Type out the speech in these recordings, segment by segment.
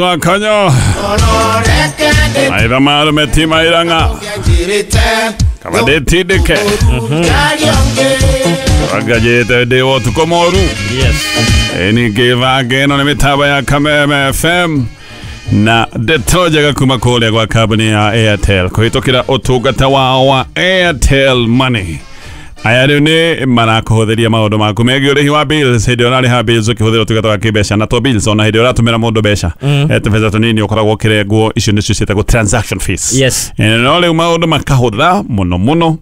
Mwezi wa Kanyo. Aitha marume ti mairanga. Kaba ndĩtindĩke. Wangajĩte ndĩ wa ũtukũ mũru. Yes. Ningĩ bange ĩno nĩ mĩtambo ya Kameme FM na ndeto njega kuma kũrĩa gwa kambuni ya Airtel kũhĩtũkĩra ũtungata wao wa Airtel Money. Aya rĩu nĩ marakũhũthĩria maũndũ maku megiĩ ũrĩhi wa bills hĩndĩ ĩrĩa ũrarĩha bills ũkĩhũthĩra ũtungata wa kĩmbeca na to bills ona hĩndĩ ĩrĩa ũratũmĩra mũndũ mbeca tũbeca tũnini ũkoragwo ũkĩrengwo icio nĩcio ciĩtagwo transaction fees. Yes. No rĩu maũndũ makahũtha mũno mũno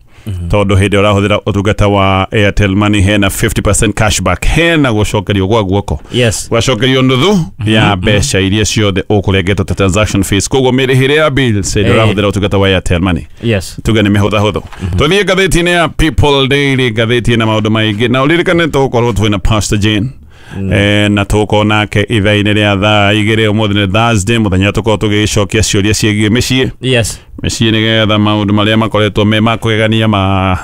tondũ hĩndĩ ĩrĩa ũrahũthĩra ũtungata wa Airtel Money hena 50% cashback, hena gũcokerio gwa guoko. Yes. Gwacokerio nuthu ya mbeca iria ciothe ũkũrengetwo ta transaction fees, koguo mĩrĩhĩre ya bills hĩndĩ ĩrĩa ũrahũthĩra ũtungata wa Airtel Money Yes. tuge nĩ mĩhũthahũthũ. Tũthiĩ ngathĩti-inĩ ya People Daily, ngathĩti ĩna maũndũ maingĩ na ũririkane tũgũkorwo twĩna Pastor Jane na tũgũkorwo nake ithaa-inĩ rĩa thaa 2 ũmũthĩ nĩ Thursday, mũthenya tũkorwo tũgĩcokia ciũria ciĩgiĩ mĩciĩ. Yes. Mĩciĩ nĩgetha maũndũ marĩa makoretwo me ma kũgegania ma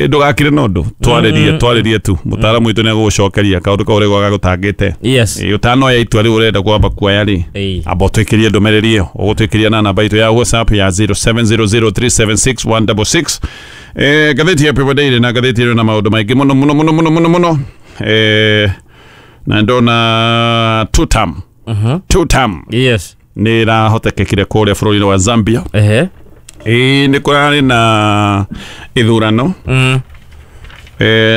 ndũgakire na ũndũ twarĩrie twarĩrie tu mũtaaramu witũ nĩegũgũcokeria kaũndũ kau ũrĩa gagũtangĩte. Yes. Ũtanoya itua rĩu ũrenda kwamba kuoya rĩ, amba ũtwĩkĩrie ndũmĩrĩri ĩyo ũgũtwĩkĩria na namba itũ ya WhatsApp ya 0700376166. Ngathĩti ya People Daily na ngathĩti ĩno na maũndũ maingĩ mũno mũno mũno mũno mũno mũno. Na ndona two term. Two term. Yes. Nĩ ĩrahotekekire kũrĩa bũrũri-inĩ wa Zambia. Ehe. Nĩ kũrarĩ na ithurano.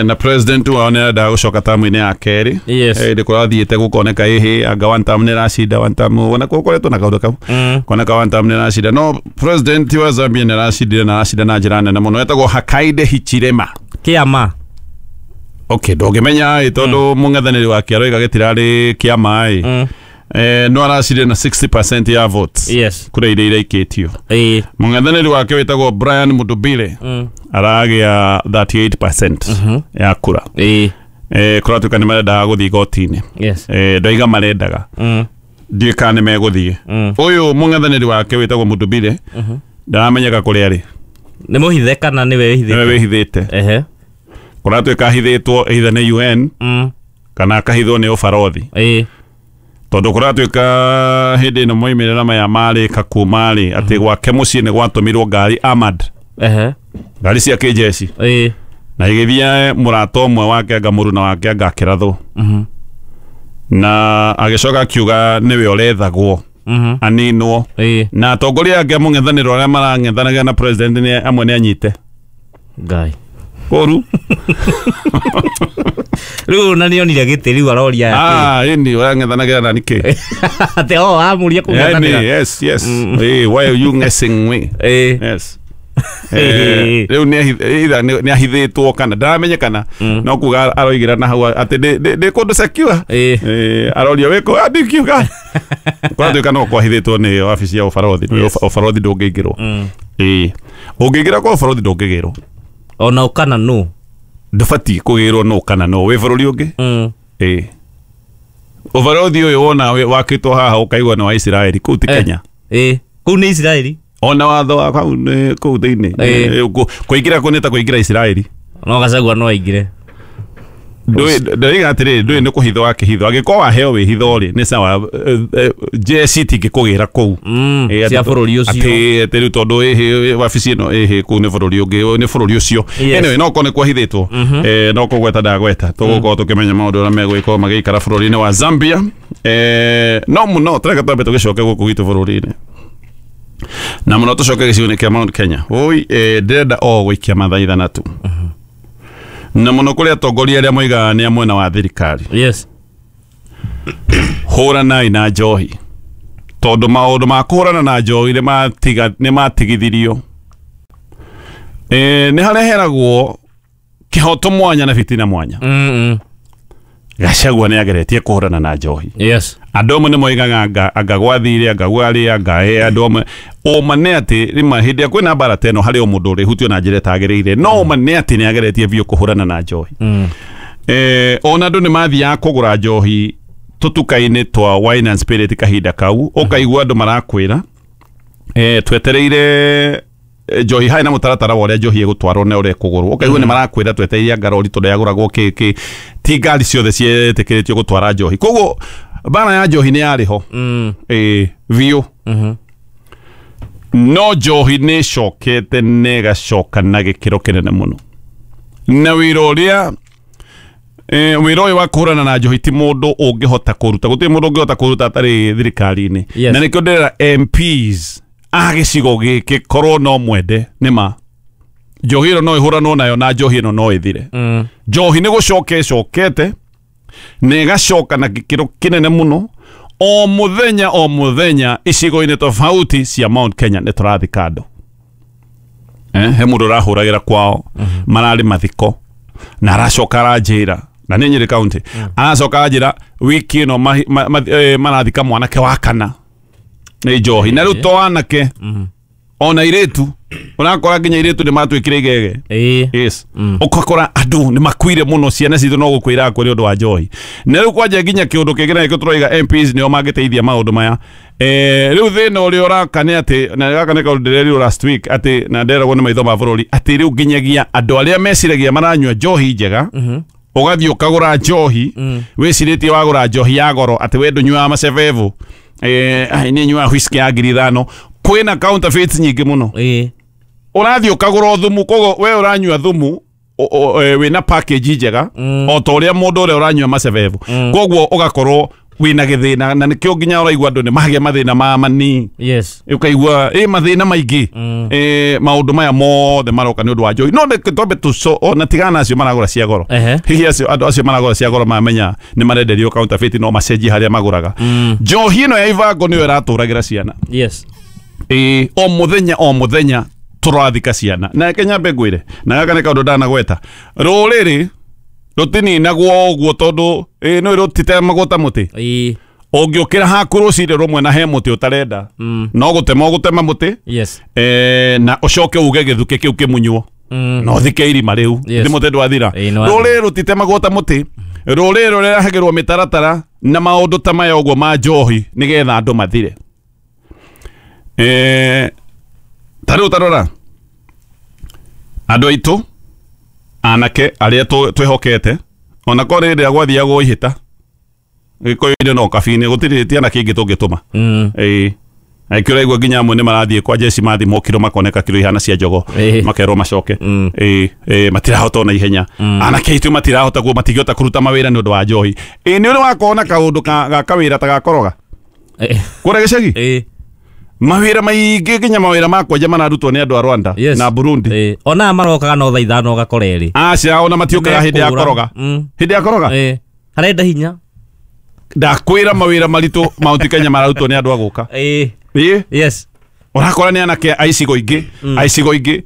Na president wao nĩ arendaga gũcoka tamu-inĩ ya kerĩ. Yes. Nĩ kũrathiĩte gũkoneka ĩhĩ anga one term nĩ ĩracinda one term, ona gũkoretwo na kaũndũ kau koneka one term nĩ ĩracinda, no president wa Zambia nĩ aracindire na aracinda na njĩra nene mũno, etagwo Hakainde Hichilema. Kĩama. Okay, ndũngĩmenya ĩ tondũ mũng'ethanĩri wake aroiga gĩtirarĩ kĩama ĩ. No aracindire na 60% ya votes. Yes. Kura iria iraikĩtio. Mũng'ethanĩri wake wĩtagwo Brian Mudubile aragĩa 38% ya kura. Kũratuĩka nĩ marendaga gũthiĩ igoti-inĩ. Yes. Ndoiga marendaga. Ndiũĩ kana nĩ megũthiĩ. Ũyũ mũng'ethanĩri wake wĩtagwo Mudubile ndaramenyeka kũrĩa arĩ. Nĩ mũhithe kana nĩwe wĩhithĩte? Nĩwe wĩhithĩte. Ehe. Kũratuĩka ahithĩtwo either nĩ UN kana akahithwo nĩ ũbarothi. Tondũ kũratuĩka hĩndĩ ĩno moimĩrĩra maya marĩka kuma rĩ atĩ gwake mũciĩ nĩ gwatũmirwo ngari armored. Ehe. Ngari cia kĩjeshi. Na igĩthiĩ mũrata ũmwe wake anga mũruna wake anga akĩrathwo. Na agĩcoka akiuga nĩwe ũrethagwo aninwo. Na atongoria angĩ a mũng'ethanĩro arĩa marang'ethanagĩra na president nĩ amwe nĩ anyite. Ngai. Kũru. Rĩu na nĩonire gĩtĩ rĩu aroria ya kĩ. Ĩni ũrang'ethanagĩra na nĩkĩ? Atĩ o amũria kũng'ethanĩra. Yes, yes. Why are you messing me? Yes. Rĩu nĩ ahithĩtwo kana ndaramenyekana no kuga aroigĩra na hau atĩ ndĩ kũndũ secure. Aroria wĩkũ ndingiuga. Kũratuĩka no kwahithĩtwo nĩ wabici ya ũbarothi. Ũbarothi ndũngĩingĩrwo. Ũngĩingĩra kwa ũbarothi ndũngĩgĩrwo. Ona ũkana nũ? Ndũbatiĩ kũgĩrwo nũ kana nũ wĩ bũrũri ũngĩ. Ũbarothi ũyũ wona wakĩtwo haha ũkaigua nĩ wa Isiraeli, kũu ti Kenya. Kũu nĩ Isiraeli. Ona watho wa kau nĩ kũu thĩinĩ. Kũingĩra kũu nĩ ta kũingĩra Isiraeli. No Gachagua no aingĩre. Ndĩroiga atĩrĩrĩ, ndũĩ nĩ kũhithwo wakĩhithwo. Angĩkorwo waheo wĩhitho rĩ, nĩ sawa, jeshi itingĩkũgĩra kũu. Cia bũrũri ũcio. Atĩ rĩu tondũ ĩhĩ wabici ĩno ĩhĩ kũu nĩ bũrũri ũngĩ, nĩ bũrũri ũcio. Anyway, no korwo nĩ kwahithĩtwo. No kũgweta ndagweta. Tũgũkorwo tũkĩmenya maũndũ ũrĩa megũgĩkorwo magĩikara bũrũri-inĩ wa Zambia. No mũno tũreka twambe tũgĩcoke gũkũ gwitũ bũrũri-inĩ. Na mũno tũcoke gĩcigo-inĩ kĩa Mount Kenya. Oi, ndĩrenda o gũikia mathaithana tu. Na mũno kũrĩ atongoria arĩa moigaga nĩ a mwena wa thirikari. Yes. Hũranai na njohi. Tondũ maũndũ ma kũhũrana na njohi nĩ matigithirio. Nĩ hareheragwo kĩhoto mwanya na fitina mwanya. Gachagua nĩ ageretie kũhũrana na njohi. Yes. Andũ amwe nĩ moigaga anga gwathire, anga gwarĩ, anga andũ amwe. Ũma nĩ atĩ rĩmwe hĩndĩ ĩrĩa kwĩna mbara ta ĩno harĩ o mũndũ ũrĩhutio na njĩra ĩtagĩrĩire, no ũma nĩ atĩ nĩ ageretie biũ kũhũrana na njohi. Ona andũ nĩ mathiaga kũgũra njohi tũtuka-inĩ twa wine and spirit kahinda kau, ũkaigua andũ marakwĩra, twetereire njohi harĩ na mũtaratara wa ũrĩa njohi ĩgũtwarwo na ũrĩa ĩkũgũrwo. Ũkaigua nĩ marakwĩra twetereire ngarori tondũ yagũragwo kĩ kĩ, ti ngari ciothe cietĩkĩrĩtio gũtwara njohi. Koguo Mbara ya njohi nĩ yarĩ ho biũ. No njohi nĩ ĩcokete na ĩgacoka na gĩkĩro kĩnene mũno. Na wĩra ũrĩa wĩra ũyũ wa kũhũrana na njohi ti mũndũ ũngĩhota kũruta, gũtirĩ mũndũ ũngĩhota kũruta atarĩ thirikari-inĩ. Yes. Na nĩkĩo ndĩrera MPs a gĩcigo gĩkĩ korwo no mwende nĩ ma njohi ĩno no ĩhũranwo nayo na njohi ĩno no ĩthire. Njohi nĩ gũcoka ĩcokete na ĩgacoka na gĩkĩro kĩnene mũno. O mũthenya o mũthenya icigo-inĩ tofauti cia Mount Kenya nĩ tũrathika andũ. He mũndũ ũrahũragĩra kwao mararĩ mathiko na aracoka aranjĩra, na nĩ Nyĩrĩ County, aracoka aranjĩra wiki ĩno marathika mwanake wa kana nĩ njohi. Na rĩu to anake ona airĩtu, ũrakora nginya airĩtu nĩ matuĩkire igege. Yes. Ũgakora andũ nĩ makuire mũno, ciana citũ no gũkwĩra kwĩ ũndũ wa njohi. Na rĩu kwanja nginya kĩũndũ kĩngĩ na nĩkĩo tũroiga MPs nĩo mangĩteithia maũndũ maya. Rĩu thĩna ũrĩa ũraka nĩ atĩ, na gaka nĩ kaũndũ ndĩrerirwo last week atĩ, na nderagwo nĩ maitho ma bũrũri atĩ rĩu nginyagia andũ arĩa meciragia maranyua njohi njega, ũgathiĩ ũkagũra njohi wĩcirĩtie wagũra njohi ya goro atĩ we ndũnyuaga macebebu, nĩ nyuaga whisky ya 5,000. Kwĩna counterfeits nyingĩ mũno. Ũrathiĩ ũkagũra thumu, koguo we ũranyua thumu wĩna package njega o ta ũrĩa mũndũ ũrĩa ũranyua macebebu, koguo ũgakorwo wĩna gĩthĩna, na nĩkĩo nginya ũraigua andũ nĩ magĩa mathĩna ma mani. Yes. Ũkaigua mathĩna maingĩ. Maũndũ maya mothe maroka nĩ ũndũ wa njohi. No reke twambe ona tigana na acio maragũra cia goro. Hihi acio andũ acio maragũra cia goro mamenya nĩ marenderio counterfeit no macenjie harĩa magũraga. Njohi ĩno ya ibango nĩyo ĩratũragĩra ciana. Yes. O mũthenya o mũthenya tũrathika ciana. Na reke nyambe ngwĩre, na gaka nĩ kaũndũ ndanagweta, rũrĩrĩ rũtininagwo ũguo tondũ nĩ rũtitemagwo ta mũtĩ. Ũngĩũkĩra haku rũcinĩ rũmwe na he mũtĩ ũtarenda, no gũtema ũgũtema mũtĩ. Yes. Na ũcoke uge gĩthukĩ kĩu kĩmunywo na ũthike irima rĩu. Yes. Nĩ mũtĩ ndwathira. Nĩ wathira. Rũrĩrĩ rũtitemagwo ta mũtĩ, rũrĩrĩ rũrehagĩrwo mĩtaratara na maũndũ ta maya ũguo ma njohi nĩgetha andũ mathire. Ta rĩu tarora andũ aitũ anake arĩa twĩhokete, ona korwo rĩrĩa gwathiagwo ihĩta gĩkũyũ-inĩ no kabi-inĩ gũtirĩ ti anake aingĩ tũngĩtũma. Aikĩ ũraigua nginya amwe nĩ marathiĩ kwa jeshi mathimwo kiro makoneka kiro ihana cia njogo, makerwo macoke. Matirahota ona ihenya. Anake aitũ matirahota guo, matingĩhota kũruta mawĩra nĩ ũndũ wa njohi. Nĩ ũrĩ wakorwo na kaũndũ ga kawĩra ta gakoroga kũrĩa gĩcagi? Mawĩra maingĩ nginya mawĩra ma kwenja mararutwo nĩ andũ a Rwanda na Burundi. Ona marokaga no thaa 5 ũgakora erĩ. Aca ona matiũkaga hĩndĩ ya koroga. Hĩndĩ ya koroga? Harenda hinya. Ndakwĩra mawĩra maritũ Mount Kenya mararutwo nĩ andũ a gũka. Yes. Ũrakora nĩ anake a icigo ingĩ, a icigo ingĩ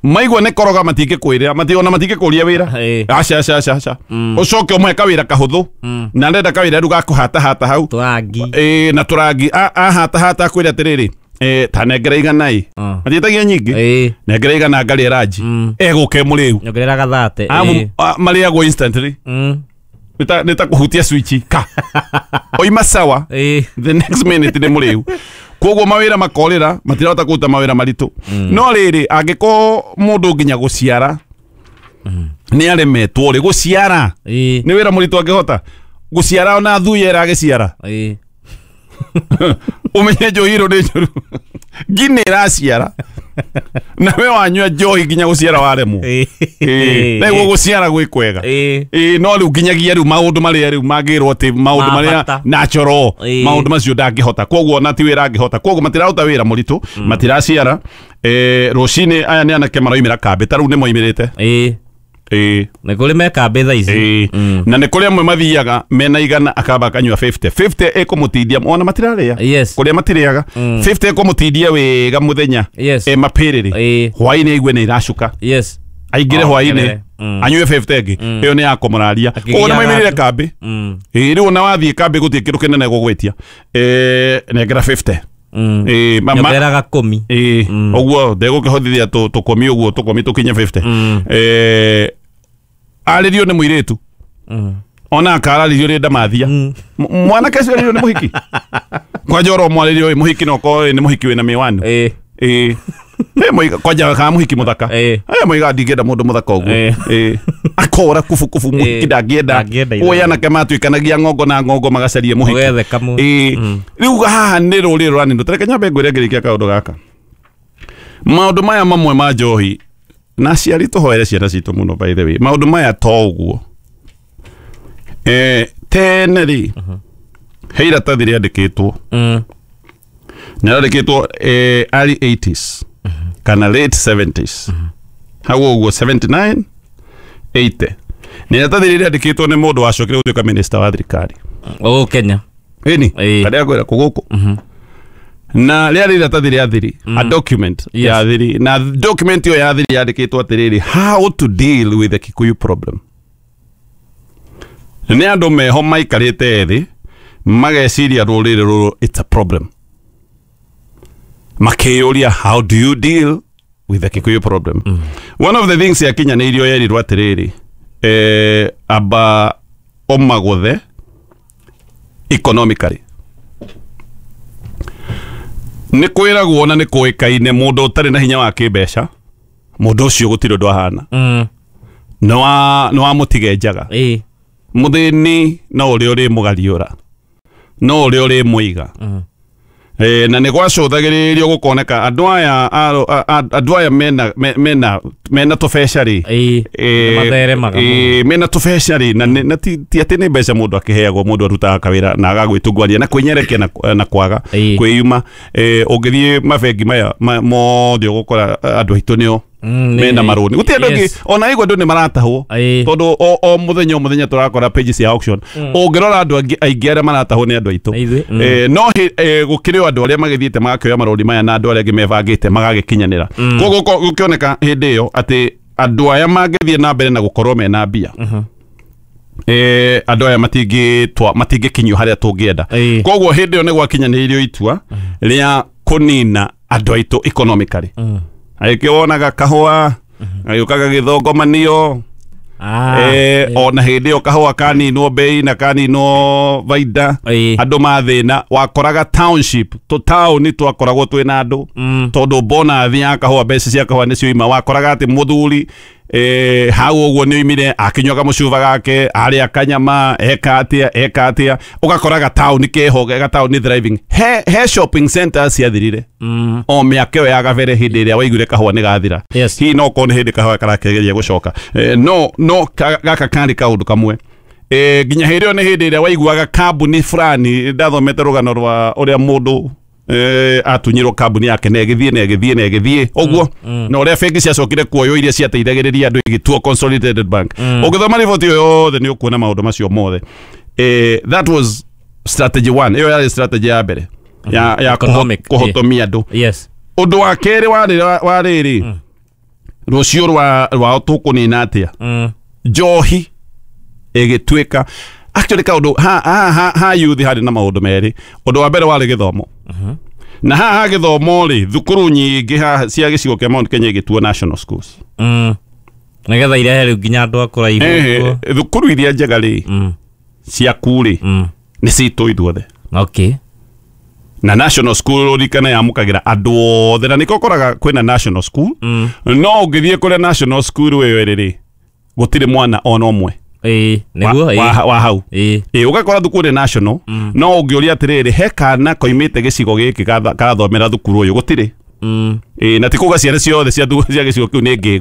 maigua nĩ koroga matingĩkwĩra, ona matingĩkũria wĩra. Aca aca aca aca. Ũcoke ũmũhe kawĩra kahũthũ, na arenda kawĩra rĩu ga kũhatahata hau. Tũrangi. Na tũrangi. Ahatahata akwĩre atĩrĩrĩ, ta nengera 100. Matiĩtagia nyingĩ. Nengera 100 ngarĩe ranji. Egũka ĩmũrĩu. Nyongerera gathate. Marĩagwo instantly. Nĩ ta kũhutia switch ka. Oima sawa. The next minute nĩ mũrĩu. Koguo mawĩra makorĩra, matirahota kũruta mawĩra maritũ. No rĩrĩ, angĩkorwo mũndũ nginya gũciara nĩ aremetwo rĩ, gũciara nĩ wĩra mũritũ angĩhota gũciara ona thuya ĩragĩciara. Ũmenye njohi ĩno nĩ njũru. Ngi nĩ ĩraciara na we wanyua njohi nginya gũciara waremwo. Na iguo gũciara gwĩ kwega. No rĩu nginyagia rĩu maũndũ marĩa rĩu mangĩrwo atĩ maũndũ marĩa natural, maũndũ macio ndangĩhota, koguo ona ti wĩra angĩhota, koguo matiraruta wĩra mũritũ, matiraciara. Rũcinĩ aya nĩ anake maroimĩra kambĩ, ta rĩu nĩ moimĩrĩte. Nĩ kũrĩ me kambĩ thaa ici. Na nĩ kũrĩ amwe mathiaga mena 100 akamba akanyua 50. 50 ĩkũmũtindia ona matirarĩa. Kũrĩa matirĩaga. 50 ĩkũmũtindia wega mũthenya. Mapĩrĩrĩ. Hwaĩ-inĩ aigue nĩ iracuka. Aingĩre hwaĩ-inĩ anyue 50 ĩngĩ. Ĩyo nĩ ya kũmũraria. Koguo nĩ maimĩrire kambĩ. Rĩu ona wathiĩ kambĩ gũtirĩ kĩndũ kĩnene gũgwĩtia. Nengera 50. Nyongerera gakũmi. Ũguo ndegũkĩhotithia tũkũmi ũguo tũkũmi tũkinye 50. Arĩrio nĩ mũirĩtu. Ona akararĩrio nĩ ndamathia. Mwanake ũcio arĩrio nĩ mũhiki. Kwanja oro mwarĩrio mũhiki no korwo nĩ mũhiki wĩna mĩwani. Moiga kwanja ka muhiki muthaka. Aya moiga ndingĩenda mũndũ mũthaka ũguo. Akora kubu kubu muhiki ndangĩenda. Oya anake matuĩkanagia ng'ongo na ng'ongo magacarie muhiki. Rĩu haha nĩ rũrĩrĩ rũraninwo. Tareke nyambe ngwĩre ngĩrĩkia kaũndũ gaka. Maũndũ maya mamwe ma njohi na aciari tũhoere ciana citũ mũno, by the way. Maũndũ maya to ũguo. Tene rĩ, he iratathi rĩandĩkĩtwo. Na rĩandĩkĩtwo early 80s kana late 70s. Hau ũguo 79 80. Nĩ iratathi rĩrĩ rĩandĩkĩtwo nĩ mũndũ wacokire gũtuĩka minister wa thirikari. Oh, Kenya. Ĩni, karĩa ngwĩra kũgũkũ. Na rĩarĩ iratathi rĩa thiri, a document ya thiri. Na document ĩyo ya thiri yandĩkĩtwo atĩrĩrĩ, how to deal with the Kikuyu problem. Nĩ andũ meho maikarĩte thĩ mageciria rũrĩrĩ rũrũ it's a problem. Makĩyũria how do you deal with the Kikuyu problem. One of the things yakinyanĩirio yerirwo atĩrĩrĩ, amba ũmagũthe economically. Nĩ kwĩragwo na nĩ kũĩkaine mũndũ ũtarĩ na hinya wa kĩmbeca, mũndũ ũcio gũtirĩ ũndũ ahana. Nĩ wa mũtige njaga. Mũthĩni no ũrĩa ũrĩ mũgariũra, no ũrĩa ũrĩ mũiga. Na nĩ gwacũthagĩrĩrio gũkoneka andũ aya mena tũbeca rĩ, mena tũbeca rĩ, na ti atĩ nĩ mbeca mũndũ akĩheagwo, mũndũ arutaga kawĩra na agagwĩtungwania na kwĩnyerekia na kwaga kwĩyuma. Ũngĩthiĩ mabengi maya mothe ũgũkora andũ aitũ nĩo mena marũni. Gũtirĩ andũ angĩ ona igua andũ nĩ maratahwo, tondũ o mũthenya o mũthenya tũrakora pages cia auction. Ũngĩrora andũ aingĩ arĩa maratahwo nĩ andũ aitũ. No gũkĩrĩ o andũ arĩa magĩthiĩte magakĩoya marũni maya na andũ arĩa angĩ mebangĩte magagĩkinyanĩra. Koguo gũkĩoneka hĩndĩ ĩyo atĩ andũ aya mangĩthiĩ na mbere na gũkorwo mena mbia, andũ aya matingĩkinyio harĩa tũngĩenda. Koguo hĩndĩ ĩyo nĩ gwakinyanĩirio itua rĩa kũnina andũ aitũ economically. Agĩkĩwonaga kahũa agĩũkaga gĩthongomanio, ona hĩndĩ ĩyo kahũa kaninwo bei na kaninwo baida, andũ mathĩna. Wakoraga township tũtaũni twakoragwo twĩna andũ, tondũ bonathi ya kahũa, mbeca cia kahũa nĩcio ima. Wakoraga atĩ mũthuri hau ũguo nĩ oimire akĩnyua kamũcuba gake, arĩa kanyama, eka atĩa, ũgakoraga taũni keho, gataũni thriving. He shopping centers ciathirire o mĩaka ĩyo ya gabere hĩndĩ ĩrĩa waiguire kahũa nĩ gathira. Hihi no korwo nĩ hĩndĩ kahũa karakĩgeria gũcoka. No gaka karĩ kaũndũ kamwe. Nginya hĩndĩ ĩyo nĩ hĩndĩ ĩrĩa waiguaga kambuni fulani, ndathomete rũgano rwa ũrĩa mũndũ atunyirwo kambuni yake na ĩgĩthiĩ na ĩgĩthiĩ na ĩgĩthiĩ ũguo, na ũrĩa bengi ciacokire kuoywo iria ciateithagĩrĩria andũ igĩtuo Consolidated Bank. Ũngĩthoma riboti ĩyo yothe nĩ ũkuona maũndũ macio mothe. That was strategy one. Ĩyo yarĩ strategy ya mbere ya kũhotomia andũ. Ũndũ wa kerĩ warĩ rĩ, rũciũ rwao tũkũnina atĩa? Njohi ĩgĩtuĩka actually kaũndũ ha youth harĩ na maũndũ merĩ. Ũndũ wa mbere warĩ gĩthomo. Na haha gĩthomo rĩ, thukuru nyingĩ haha cia gĩcigo kĩa Mount Kenya igĩtuo national schools. Nĩgetha irehe rĩu nginya andũ a kũraihu. Thukuru iria njega rĩ, ciaku rĩ, nĩ citũ ithuothe. Na national school ũririkane yamũkagĩra andũ othe, na nĩkĩo ũkoraga kwĩna national school. No ũngĩthiĩ kũrĩa national school ĩyo ĩrĩ rĩ, gũtirĩ mwana ona ũmwe wa hau. Ũgakora thukuru nĩ national, no ũngĩũria atĩrĩrĩ, he kana koimĩte gĩcigo gĩkĩ karathomera thukuru ũyũ, gũtirĩ. Na ti kuga ciana ciothe cia gĩcigo kĩu nĩ ngĩgu.